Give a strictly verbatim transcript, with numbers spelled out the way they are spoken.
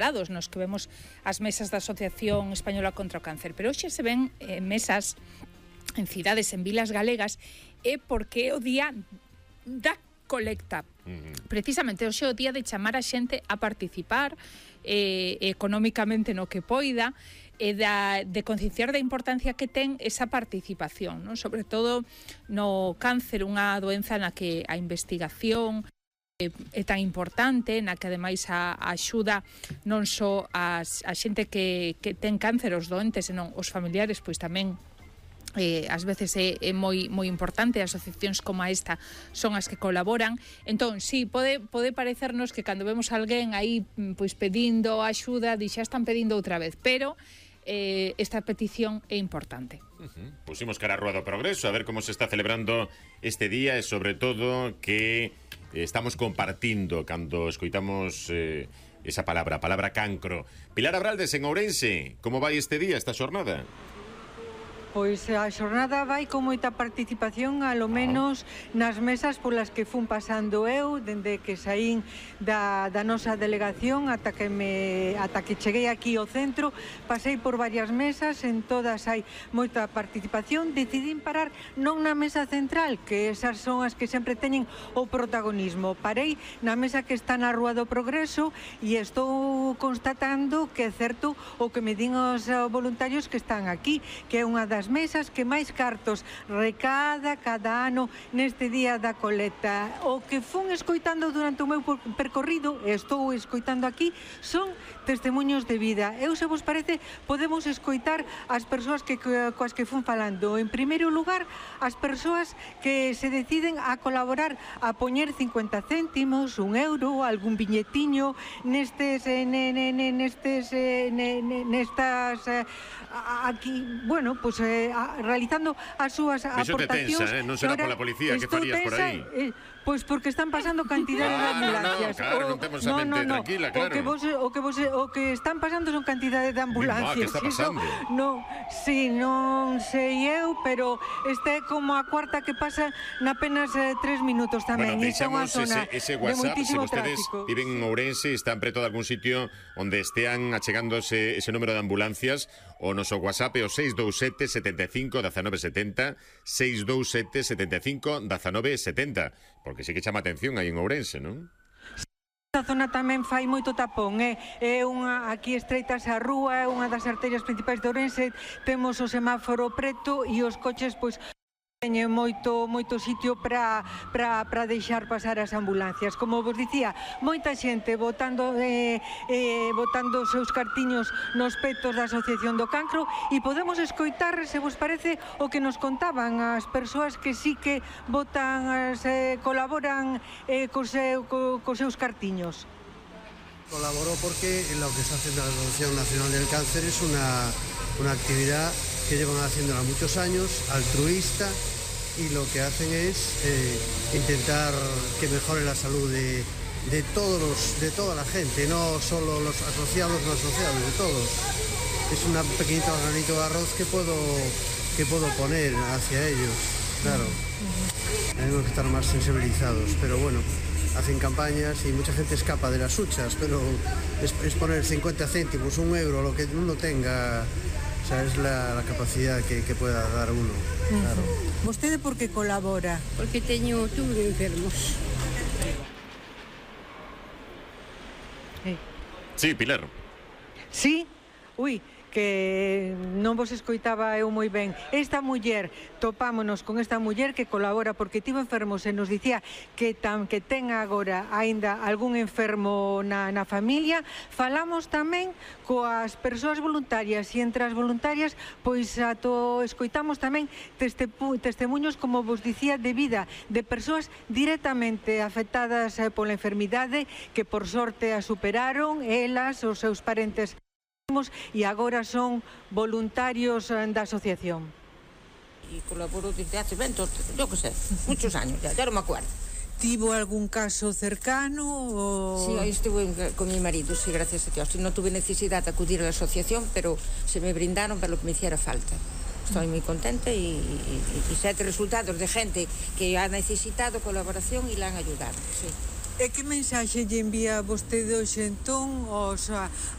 nos que vemos as mesas da Asociación Española contra o Cáncer, pero hoxe se ven eh, mesas en cidades, en vilas galegas, é porque é o día da colecta. Mm-hmm. Precisamente hoxe é o día de chamar a xente a participar eh, económicamente no que poida, e da, de concienciar da importancia que ten esa participación, non? Sobre todo no cáncer, unha doenza na que a investigación é tan importante, na que ademais a, a axuda non só a, a xente que, que ten cáncer, os doentes, senón os familiares, pois tamén eh, ás veces é, é moi, moi importante. Asociacións como esta son as que colaboran. Entón, sí, pode, pode parecernos que cando vemos a alguén aí pois pedindo axuda, di xa están pedindo outra vez, pero eh, esta petición é importante. Uh-huh. Pusimos cara a Rúa do Progreso a ver como se está celebrando este día e sobre todo que estamos compartindo cando escoitamos eh, esa palabra, a palabra cancro. Pilar Abraldes, en Ourense, como vai este día, esta xornada? Pois a xornada vai con moita participación, alo menos nas mesas polas que fun pasando eu, dende que saín da, da nosa delegación ata que, me, ata que cheguei aquí ao centro. Pasei por varias mesas, en todas hai moita participación. Decidín parar non na mesa central, que esas son as que sempre teñen o protagonismo. Parei na mesa que está na Rúa do Progreso e estou constatando que é certo o que me din os voluntarios que están aquí, que é unha das mesas que máis cartos recada cada ano neste día da colecta. O que fun escoitando durante o meu percorrido, e estou escoitando aquí, son testemunhos de vida. Eu, se vos parece, podemos escoitar as persoas que, coas que fun falando. En primeiro lugar, as persoas que se deciden a colaborar, a poñer cincuenta céntimos, un euro, algún viñetiño nestes nestes nestas aquí, bueno, pois pues, eh, realizando as súas aportacións. Tensa, eh? Non será pola policía, que farías por aí? Eh, pois porque están pasando cantidade de ambulancias. Ah, no, no, claro, non temos a mente no, no, tranquila, claro. O que, vos, o, que vos, o que están pasando son cantidade de ambulancias. Que está pasando? Eso, no, sí, non sei eu, pero esta é como a cuarta que pasa na apenas eh, tres minutos tamén. Bueno, deixamos ese, ese WhatsApp, se vostedes tráfico. Viven en Ourense, están preto de algún sitio onde estean achegándose ese número de ambulancias, o noso WhatsApp é o seis dous sete, setenta e cinco, diecinueve setenta, seis dous sete, setenta e cinco, diecinueve setenta, porque sí que chama atención aí en Ourense, non? Esta zona tamén fai moito tapón, é, é unha, aquí estreitas a rúa, é unha das arterias principais de Ourense, temos o semáforo preto e os coches, pois, teñen moito, moito sitio para para para deixar pasar as ambulancias. Como vos dicía, moita xente votando eh, eh, votando os seus cartiños nos petos da Asociación do Cancro, e podemos escoitar, se vos parece, o que nos contaban as persoas que sí que votan, se colaboran eh, cos, seu, co, cos seus cartiños. Colaboró porque lo que se hace en la Asociación Nacional del Cáncer es una, una actividad que llevan haciéndola muchos años, altruista, y lo que hacen es eh, intentar que mejore la salud de, de, todos los, de toda la gente, no solo los asociados, no asociados, de todos. Es un pequeñito granito de arroz que puedo, que puedo poner hacia ellos, claro. Tenemos que estar más sensibilizados, pero bueno, hacen campañas y mucha gente escapa de las huchas, pero es, es poner cincuenta céntimos, un euro, lo que uno tenga. O sea, es la, la capacidad que, que pueda dar uno, claro. ¿Vostede por que colabora? Porque teño tuve enfermos. Sí, Pilar. Sí? Ui, que non vos escoitaba eu moi ben. Esta muller, topámonos con esta muller que colabora porque tivo enfermos e nos dicía que tan que ten agora aínda algún enfermo na, na familia. Falamos tamén coas persoas voluntarias e entre as voluntarias pois ato escoitamos tamén teste, testemunhos, como vos dicía, de vida de persoas directamente afectadas eh, pola enfermidade, que por sorte a superaron, elas, os seus parentes, e agora son voluntarios da asociación. Y colaboro desde hace veinte, yo que sé, muchos años, ya, ya no me acuerdo. ¿Tivo algún caso cercano? O... Sí, ahí estuve con mi marido, sí, gracias a Dios. No tuve necesidad de acudir a la asociación, pero se me brindaron para lo que me hiciera falta. Estoy muy contenta y, y, y sé resultados de gente que ha necesitado colaboración y la han ayudado, sí. E que mensaxe lle envía vostede hoxe entón aos,